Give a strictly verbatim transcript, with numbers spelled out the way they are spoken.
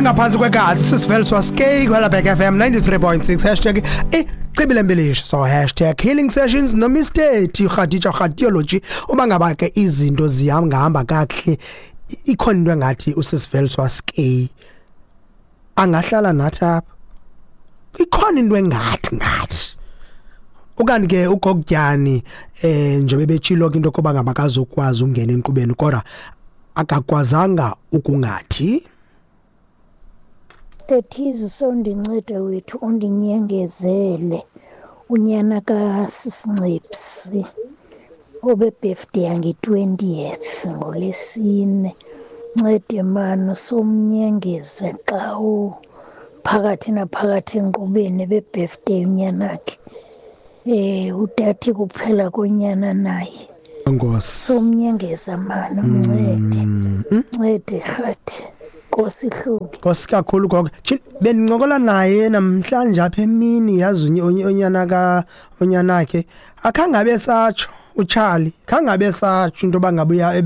Singaphantsi kwegazi, sisiveliswa skey kwelabhek F M ninety-three point six, hashtag icibile mbilisho, so hashtag healing sessions noMr T Khadija Khadiology. Uba ngaba ke izinto zihamba kakuhle, ikhona into engathi usisiveliswa skey angahlala nathi apha. Ikhona into engathi ngathi ukanti ke ugokutyani eh njengoba betshilo ke into koba ngaba akazokwazi ukungena enkqubeni, kodwa akakwazanga ukungathi. Tethizo, sondinceda wethu, undinyengezele unyana kaSisincipsi obe-birthday yange-twentieth ngoLwesine. Ncede mani, usomnyengeze xa uphakathi naphakathi enkqubeni, ebe-birthday unyanakhe. Eh utathi kuphela konyana naye. Nkosi. Somnyengeza mani, uncede. Ncede rhathi. Nkosi Hlubi. Nkosi kakhulu gogo. Bendincokola naye namhlanje apha emini, yazi, unyana ka unyanakhe akhangabe satsho uCharlie, khangabe satsho into yoba ngabe uya.